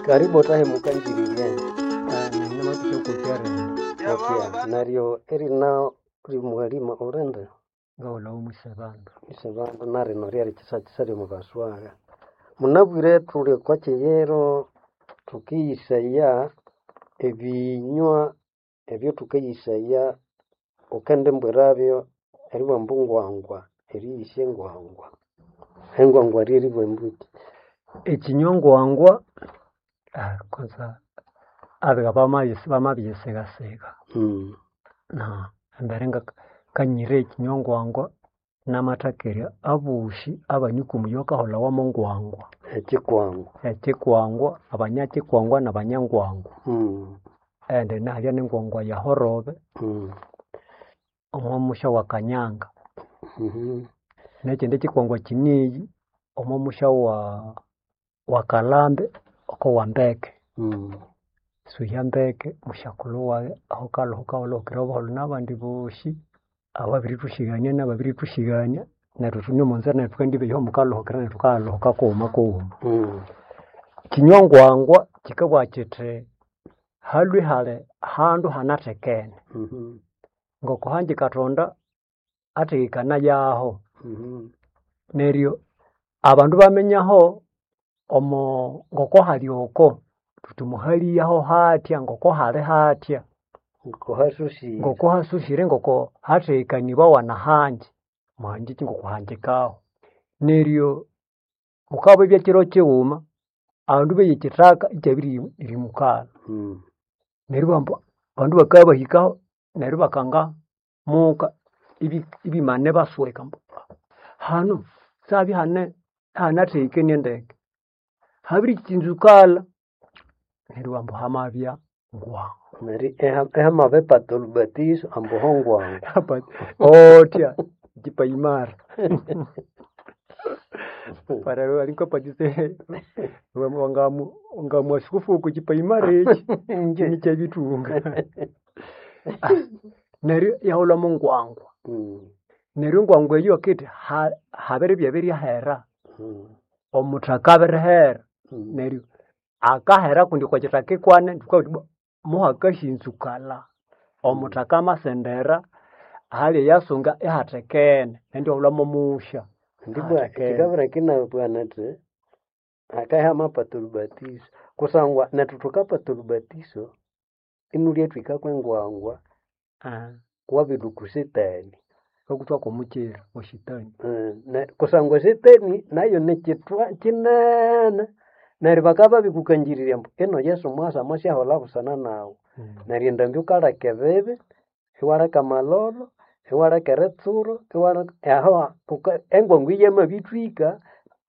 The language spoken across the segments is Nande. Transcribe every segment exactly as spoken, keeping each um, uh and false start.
Karibu otahe mukanjiririe. Namathusha kokyarenda. Okay. Neryo erina rimwalima ulinde Ngawulhawo mwisebandu. Isebandu narino ryari kyisakisa ryomubaswaga. Munabwire thuli okwa kyiyiro thukiyisaya ebinywa ebyathukayisaya wukendimbwirabyo eribugha ambu ngwangwa, eriyisya engwangwa. Engwangwa ryeribugha ambuki? Ekinywa ngwangwa kwanza abiga bamabisi bamabiyisighasiga Mm. na embere ngakanyira ekinywa ngwangwa namathakerya abosi abanikwa omuyi wakaholhawa mongwangwa. Ekyikwangwa. Ekyikwangwa, abanyakyikwangwa nabanyangwangwa. Mm. Indi nahalya nengwangwa yahorobe Mm. omwa musya wa Kanyanga. Mhm. Nekyindi kyikwangwa kyinighi omwa musya wa wa Kalhambe oko wambeke. Mm. Suhya mbeke musyakulhu wayi aho kalhuka kalhuhukira obuholho nabandi bosi ababirithusyigania nababirithusyigania neryo thune omonzira neryo thukandibeya aho mukalhuhukira neryo thukayaluhuka kughuma kughuma. Mm. Kinywa ngwangwa kikabugha kithi halhwe hali handu hanathekene. Mhm. Ngoko hangi Kathonda athekekanayaho. Mhm. Neryo abandu bamenyaho omo ngoko hali oko thuthi muhaliyaho hathya ngoko hali hathya. Ngoko hasusire. Ngoko hasusire ngoko hathekanibawa nahangi muhangiki ngoko hangikaho. Neryo mukabya kyiro kyighuma abandu beya ekyithaka ikyabirimukalha. Mm. Neryo ibabugha ambu abandu bakabya bahikaho neryo ibakanga muka ibi- ibimane ibasweka ambu hanu sihabye ihane ihanathekenie ndeke. Habirikyinzukalha neryo ibabugha ambu hamabya ngwangwa. Neryo iha- ihamabipata olhubatizo ambu ho ngwangwa. Othya kipaimara. Parero alikapatise wangamu wangamu askofu oko kipaimara ekyi Inje. nikyabithunga. Neryo iyaholha mongwangwa. Mm. Neryo engwangwa eyo akithi ha habiribya biryahera. Mm. Omuthaka abirihera. Mm. Neryo akahera kundi okwa kithaka ikwane thukabuga thuthi ibwa muhakasyanzukalha. Omuthaka amasendera ahali eyasunga ihathekene nendi iwaholha momusya. Ndibwa Hathekene. kyikabira kinabugha nthi hakabya hamapata olhubatizo kusangwa nethu thukapata olhubatizo inulya thwika kwengwangwa wabirilhwa setani. Thukakuthwako omukyira wa shetani. Ne kusangwa setani nayo nikyithwa kyinene neryo bakabya babirikukangirirya ambu ino Yesu mwasa amasyaholha busana nawu. Neryo endambi wukaleka ebibi, iwaleka amalholo, iwaleka eritsuro, iwaleka aho wuka engwangwa eyi yamabithwika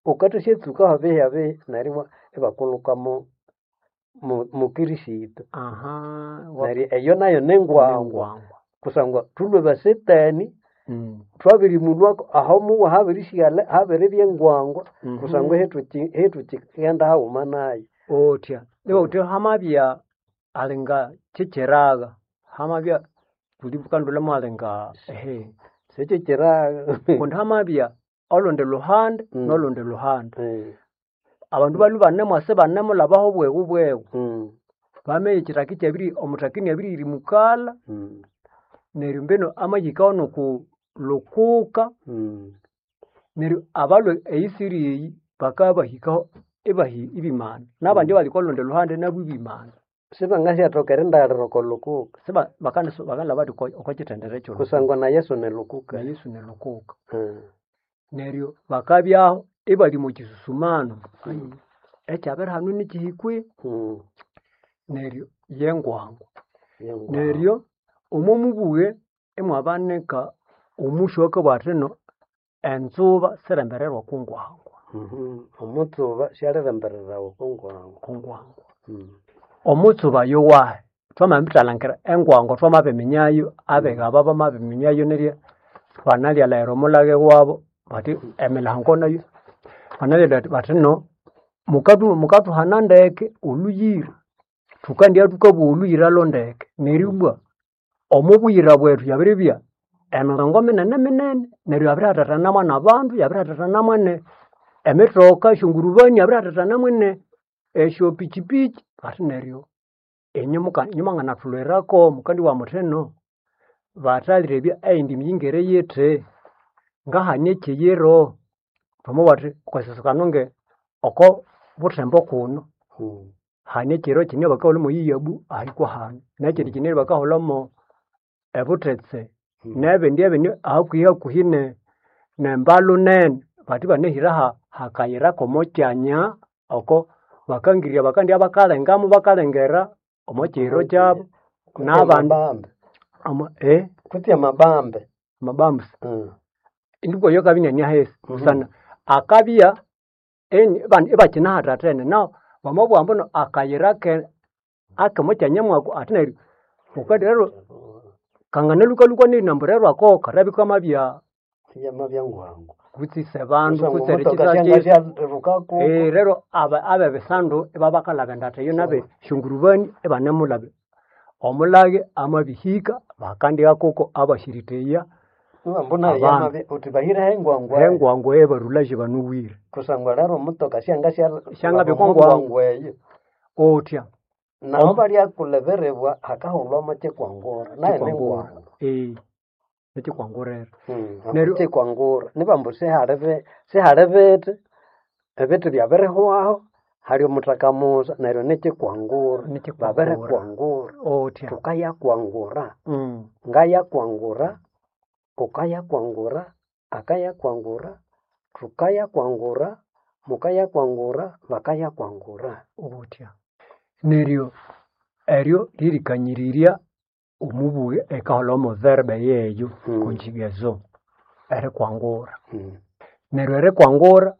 wukathasyatsukaho bihi neryo ibwa ibakulhuka mo mo mokristo. Neryo eyo nayo nengwangwa Nengwangwa. kusangwa thulhwe basetani Mm. thwabirimulhwako aho muwa habirisighalha habiribya engwangwa Mhm. kusangwa ihethuki ihethukighenda haghuma nayo. Othya iwawuthe hamabya alinga kyekyiraga hamabya kundi bukandolha mwalinga ehe Sikyikyiraga. kundi hamabya olundi luhande Mm. nolundi luhande. Eh. Abandu balhwe banemwasa ibanemulhabaho bweghu bweghu. Mm. Bamenya ekyithaka ikyabiri omuthaka iniabiririmukalha Mm. neryo mbinu amahikaho noku lukuka Mm. neryo abalhwe eyisiri eyi bakabya bahikaho ibahi ibimana. Nabandi Mm. abali okwalundi luhande nabu ibimana. Sibangasyathoka erindaghalira oko lukuka. Siba bakanasu bakanalhaba bathi okwa okwakithendere ekyolukuka. Kusangwa na Yesu ni lukuka. Na Yesu nilukuka. Mm. Neryo bakabyaho ibali omo kyisusumano. Mm. Ekyabiri hanu nikyihikwe Mm. neryo yengwangwa. Yengwangwa. Neryo omo mubughe imwabanika omusyo owakabugha athi ino enzuba sirimbererwa okwa ngwangwa. Mhm. Omutsuba syalirembererawa okwa ngwangwa. Okwa ngwangwa. Mm. Omutsuba yowahi? Thwamabithalhangira engwangwa thwamabiminya abiga aba bamabiminya neryo banalyalayira omulhaghe wabo bathi emilhango nayo banalyalayira bathi no mukathu mukathuhana ndeke olhuyira. Thukandya thukabugha olhuyira lho ndeke. Neryo ibwa omo buyira bwethu yabiribya emiringo minene minene neryo yabirihathathana nabandu, yabirihathathana ne emithoka esyongurubani yabirihathathana ne Esyo pichipichi ati neryo inye muka mwanganathulhwirako mukandibugha muthi ino bathalhirebya eyindi miyingire yithi ngahani ekyiyiro twamabugha thuthi okwasyasokana nge oko buthembo kuno Mm. hane ekyiro kine bakahulha mo Iyabu ahikwa hano nekyindi kine bakahulha mo ebuthetse Mm. nebindi ebindi hakuhi hakuhi ne nembalu nene bathi banahira ha hakayira komo kyanya oko bakangirya bakandya bakalengamu bakalengera omo kiyiro kyabo Kutse n'abandi amabambe omo eh kutse amabambe amabambusi Mm. indikwa yo kabya inaniahesi Mhm. busana akabya eni bandi ibakinahathathene naho wamabugha ambu no akayira ke akemokyanya mwako ati neryo wukandi rero kanganalukalukwa nerinambu rero ako karabya kamabya Yamabya ngwangu kutse isebandu kusangwa kutse omutoka erikitha syanga kyesi syalirukako Eh, rero aba abebisandu ibabakalaba endatha eyo nabe shongurubani ibanemulaba omulage amabihika bakandika kuko abashiriteya mbuna abandu yamabi uthi bahireho engwangwa hengwangu ebarulaje banuwire kusangwa rero omutoka syanga syalaba syangabya omo kwangwangu ngwangu eyo otya naho om balyakuleberibwa hakahulwamo kyikwangura nayo kikwangura nengwangu eh ekikwangurera Mm, ambu neryo kyikwangura nibambu sihali bi- sihali bithi ebithi byabirihwaho hali omuthaka musa neryo nikyikwangura nikikwangura babirikwangura otya thukayakwangura mm. ngayakwangura ukayakwangura akayakwangura thukayakwangura mukayakwangura bakayakwangura otya neryo eryo lirikanyirirya omubuge ekaholha omo verbe yeyo Mm, conjugaison erikwangura mm, neryo erikwangura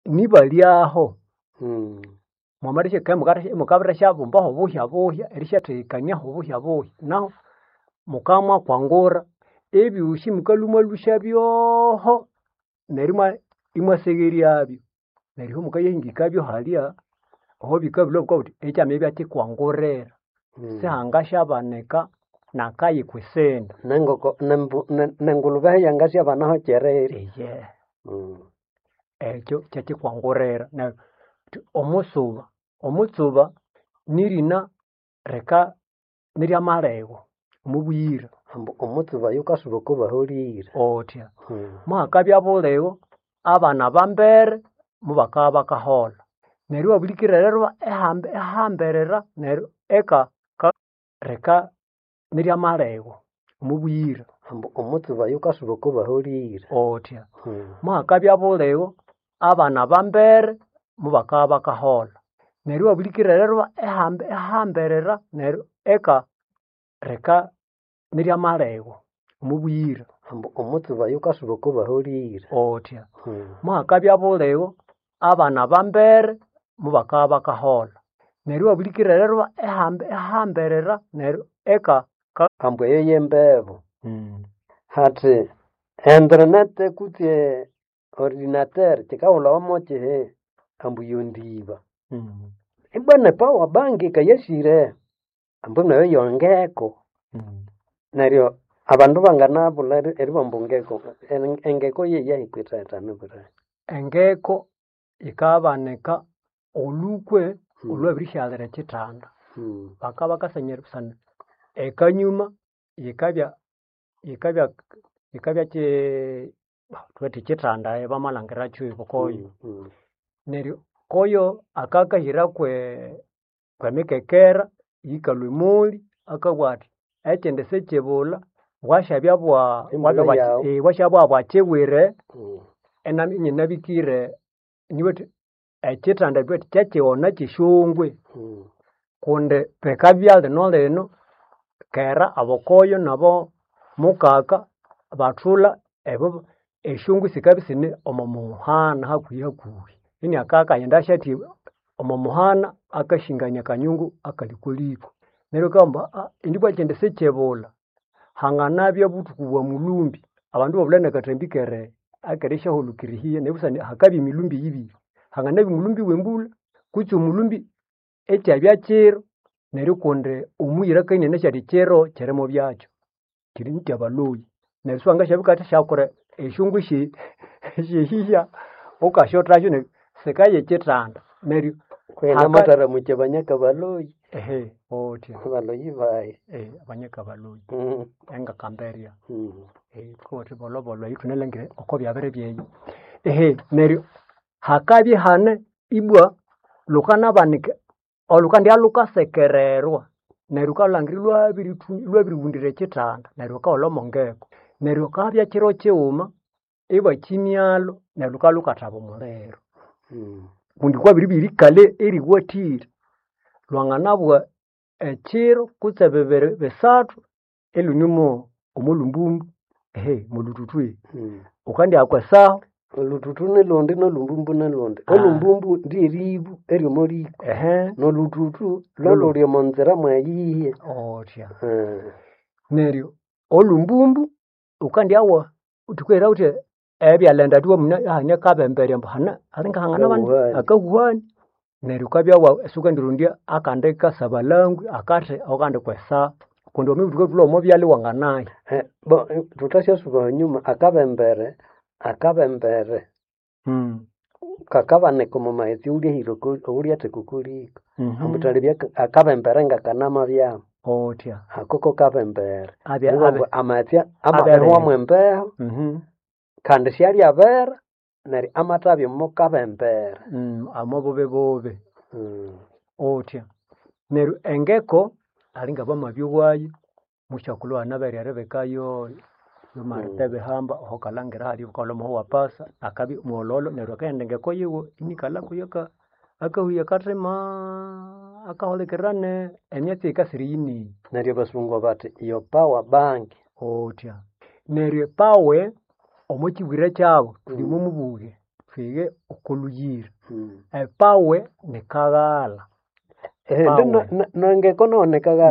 nibalyaho mm. mwamalishya mukabirashabumbaho buhya buhya erisyathekaniaho buhya buhya naho mukamwakwangura ebyosi mukalhumalhusya byoho neryo imwa imwasegheryabyo neryo mukayahingikabyo halya aho bikabilhwa bukabugha buthi ekyamabya kyikwangurira Mm. sihangasyabanika nakayi kwisindi Nengoko nembu- ne- nengulube yangasyabanaho kyereri eye Mm. ekyo kyekyikwangurira neryo thi omusuba omutsuba nirina rika niryamalego omubuyira Ambu omutsuba yukasuba okubahulire otya Mm. muhakabya bulego abana bambere mubakabya bakaholha neryo iwabulikirira rero ehambe ehamberera neryo eka ka rika niryamalego omubuyira Ambu omutsuba yukasuba okubahulire otya Mm. muhakabya bulego abana bambere mubakabya bakaholha neryo iwabulikirira rero ehambe ehamberera neryo eka rika niryamalego omubuyira Ambu omutsuba yukasuba okubahulire otya Mm. muhakabya bulego abana bambere mubakabya bakaholha neryo iwabulikirira rero ehambe ehamberera neryo eka ka Ambu eyo yembebu mm. hathi internet kutse ordinateur kyikahulhawa kyihi ambu yondiba Mm. ibwa ne power bank yikayasire ambu nayo yongeko Mm. neryo abandu banganabulha eri- eribamba engeko En- engeko yeyahikwithathana bulayi Engeko yikabanika olukwe Mm. olwabirishyalira ekyithanda Mm. bakabya bakasanyira busana ekanyuma yikabya yikabya yikabya kyi thuwethi kyithanda bamalhangirakyo ibukoyo Mm. Mm. neryo koyo akakahira kwe kwemikekera yikalhwa emoli akabugha athi ekyindi sikyibulha bwasyabya bwa Embulha bwabya bwa yawu eh, bwasyabya bwakyibwire Mm. enami inyinabikire niwethi ekyithanda thuwethi kyekyighona kyesyongwe Mm. kundi bikabya lino lino kera abokoyo nabo mukaka bathulha ebo esyongwe sikabya isine omo muhana hakuhi hakuhi iniaka akaghenda asyathi omo muhana akashingania akanyungu akalikoliko neryo akabugha ambu indi bwa ekyindi sikyibulha hanganabya buthuku bwa mulumbi abandu ibabulha nakathambi kere akerisyaholokerihiya neryo busana hakabya emilumbi yibiri hanganabya omulumbi wembulha kutse omulumbi ekyabya kiro neryo kundi omuyira akainene athi kiro kyirimo byakyo kiri kyabalhoyi neryo siwangasyabika syakura esyongwe sye syehihya wukasyothasyo neryo sikaya ekyithanda neryo Kwena Haka- mataramuche banyaka baloyi Ehe, otya baloyi bayi eh, abanyaka baloyi Mm. engakamberya Mm. eh, thukawathi bolobolo eyi thunalangire oko byabere byeyo ehe neryo hakabya hane ibwa lukanabanika olukandya lukasekererwa neryo wukalhangira ilwabirithi ilwabiriwundira ekithanda neryo wukaholha omo ngeko neryo kabya kiro kighuma ibakimyalho neryo lukabya lukathaba omuliro Mm. kundi kwabiribya erikalha eriwathire lwanganabwa ekiro kutse bibiri bisathu ilhune omo lumbumbu ehe molhuthuthu Mm. wukandihaka esahu Olututu nilundi nolumbumbu nilundi Ah. olumbumbu ryeribu eryomo liko ehe nolututu loluli omo nzira mweyiye otya Eh. neryo olumbumbu wukandyawa thukaghira wuthi ebyalenda thuwa muna hane kabemberya ambu hane alingahangana Akahuhani. akahuhani neryo wukabya wa siwukandirondya akandi kasabalangwe akathi akandi kwesa kundi wamabuthuka thulha omo byalha iwanganaya Eh, bo eh, tutasyasuba anyuma akabembere akabembere mm. kakabanika omo maghetse owulyahira owulyatheka oko liko mm ambutalebya akabembere ngakanama byamu otya ako ko kabembere abya Nibo abe ambu amaghetse amabihwamu embeho mhm kandi syalyabera neryo amathabya omo kabembere mm, amo bubi bubi Mm. otya neryo engeko alinga bamabya wayo musyakulhu anaberya eribikayo yomarita ebihamba oho kalhangira hali bukalha omuhu wa pasa akabya mwololo neryo akaghenda engeko yiwe inikalha kuyo aka akahuya akathima akahulikirira ne emyatsi eyikasira eyiniyi Neryo abasungu bathi your power bank otya neryo epawe omo kibwire kyabo thulime omubuge twige oko luyira Mm. epawe nikaghalha Eh, ndi Epawe. nengeko nonekaghalha